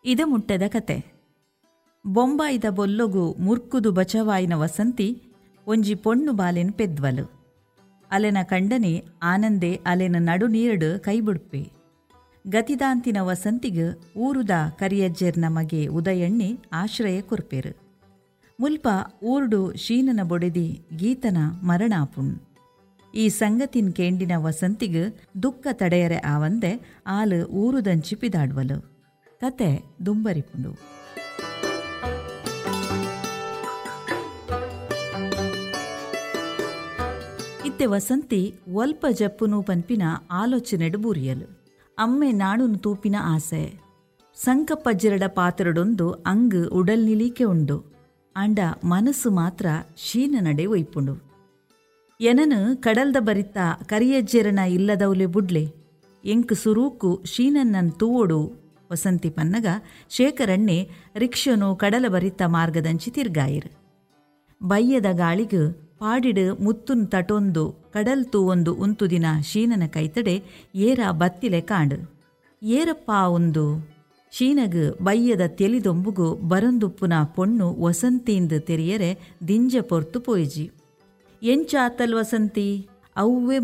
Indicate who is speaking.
Speaker 1: ಇದ ಮುಟ್ಟೆದ ಕತೆ. ಬೊಂಬಾಯಿದ ಬೊಲ್ಲೊಗು ಮುರ್ಕುದು ಬಚವಾಯಿನ ವಸಂತಿ ಒಂಜಿ ಪೊಣ್ಣು ಬಾಲೆನ್ ಪೆದ್ವಲ್. ಅಲೆನ ಕಂಡನೆ ಆನಂದೆ ಅಲೆನ ನಡು ನೀರ್ಡ್ ಕೈ ಬುಡ್ಪೆ. ಗತಿದಾಂತಿನ ವಸಂತಿಗ್ ಊರುದ ಕರಿಯಜ್ಜೆರ್ನ ಮಗೆ ಉದಯಣ್ಣೆ ಆಶ್ರಯ ಕೊರ್ಪೆರ್. ಮುಲ್ಪ ಊರ್ಡು ಶೀನನ ಬೊಡೆದಿ ಗೀತನ ಮರಣ ಆಪುಂಡ್. ಈ ಸಂಗತಿನ್ ಕೇಂಡಿನ ವಸಂತಿಗ್ ದುಃಖ ತಡೆಯರೆ ಆವಂದೆ ಆಲ್ ಊರುದಂಚಿ ಪಿದಾಡ್ವಲ್. ಕತೆ ದುಂಬರಿಪುಂಡು. ಇತ್ತೆ ವಸಂತಿ ಒಲ್ಪ ಜಪ್ಪುನು ಪನ್ಪಿನ ಆಲೋಚನೆಡ್ ಬೂರಿಯಲ್. ಅಮ್ಮೆ ನಾಣುನು ತೂಪಿನ ಆಸೆ. ಸಂಕಪ್ಪಜ್ಜೆರಡ ಪಾತೆರೊಡೊಂದು ಅಂಗ್ ಉಡಲ್ ನಿಲೀಕೆ ಉಂಡು. ಆಂಡ ಮನಸ್ಸು ಮಾತ್ರ ಶೀನನಡೆ ಒಯ್ಪುಂಡು. ಎನನ್ ಕಡಲ್ದ ಬರಿತ್ತ ಕರಿಯಜ್ಜೆರೆನ ಇಲ್ಲದೌಲೆ ಬುಡ್ಲೆ. ಎಂಕ್ ಸುರೂಕು ಶೀನನ್ನನ್ ತೂವೊಡು ವಸಂತಿ ಪನ್ನಗ ಶೇಖರಣ್ಣೆ ರಿಕ್ಷೊನು ಕಡಲ ಬರಿತ್ತ ಮಾರ್ಗದಂಚಿ ತಿರ್ಗಾಯೆರ್. ಬಯ್ಯದ ಗಾಳಿಗ್ ಪಾಡಿಡ್ ಮುತ್ತುನ್ ತಟೊಂದು ಕಡಲ್ ತೂವೊಂದು ಉಂತುದಿನ ಶೀನನ ಕೈತಡೆ ಏರಾ ಬತ್ತಿಲೆಕಾಂಡ್. ಏರಪ್ಪಾ ಉಂದು? ಶೀನಗ್ ಬಯ್ಯದ ತೆಲಿ ದೊಂಬುಗು ಬರೊಂದುಪ್ಪುನ ಪೊಣ್ಣು ವಸಂತೀಂದ್ ತೆರಿಯರೆ ದಿಂಜ ಪೊರ್ತು ಪೋಯಿಜಿ. ಎಂಚ ಆತಲ್ ವಸಂತಿ? ಅವ್ವೆ.